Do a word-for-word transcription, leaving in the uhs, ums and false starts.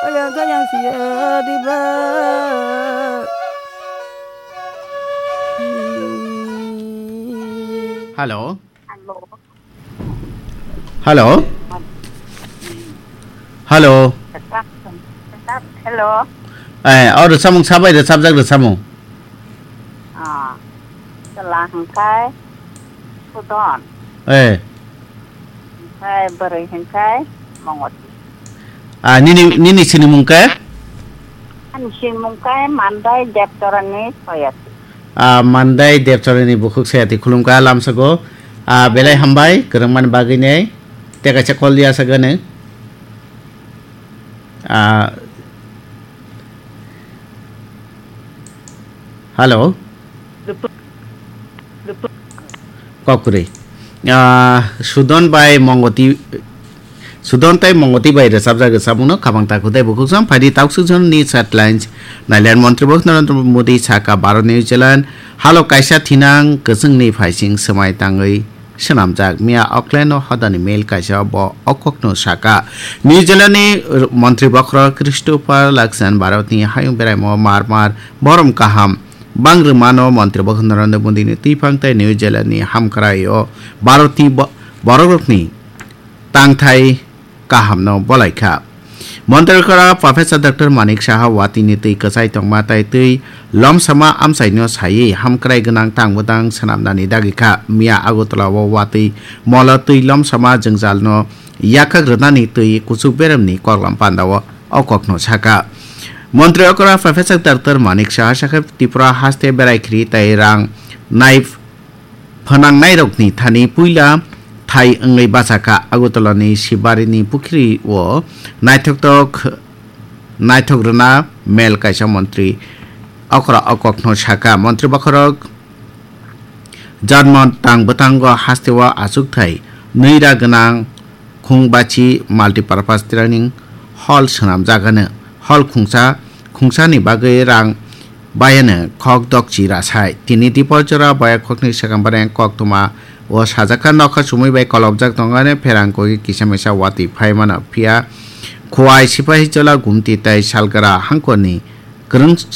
Ayang kayang sia di ba. Hello. Hello. Hello. Hello. Hello. Eh, oh, rwchapmung sabai rwchapjak rwchapmung. Ah, chwla hwnkhe Sudon. Eh. Hwnkhe bwrwi hwnkhe Mongoti. Ah, nini, nini sinimung khe? Ani sinimung khe Mandai Debchorani Soyati. Ah, Mandai Debchorani bukhuk Soyati khulumkha lamsago. Ah, belai hambai, kwrwngmani bagwi nei. Tei kaisa call ya sagani. Ah, hello. Kokri. Ah, Sudon bai Mongoti, Sudon tai Mongoti bai rwchapjak rwchapmungno khabang ta khutai bukhuk sam phaidi taksuk jonni headlines. Nailen Montri Bok Narendra Modi saka Bharat New Zealand halo kaisa thinang kwchwngni phaising swmai tangwi swnamjak. Miya Auckland-o hodani mail kaisa bo o kokno saka. New Zealand-ni Montri Bokhorok Christopher Luxon Bharatni hayung beraimo mar mar borom kaham bang rwmano Montri Bokhorok Narendra Modi-ni twiphang tei New Zealand-ni hamkrai-o Bharatni bo-, borokrokni tangthai kahamno bolaikha. Montri kora Professor Doctor Manik Saha watwini twi kwchai tongma tai twi lomsama amchaino saiwi hamkrai gwnang tang bwtang swnamnani dagikha. Miya Agartala-o watwi molo twi lomsama jwngjalno yakhak rwnani twi kuchuk beremni koklam pandao o kokno saka. Montri okra Professor Doctor Manik Saha sakha Tripura haste berai khri tai rang nai phnangnairokni thani puila thai wngwi bachakha. Agartalani Sibarini pukhri-o naithoktok, naithok rwna mel kaisa montri okra o kokno saka. Montri bokhorok janmo tang bwtango hasteo achukthai nwi ra gwnang Khungbachi Multipurpose Training Hall swnamjak hwno. Hall khungsa, khungsani bagwi rang bayano khok dokchi rasai. Tini Diporjora baya khokni swkang bareng koktwma o sajak kha, nokha chumui bai kolobjak tongo, ani pherang kogwi kisa misa watwi phai mano. Phiya Khowai Sipahijola Gumti tei Salgra hangkorni kwrwngsa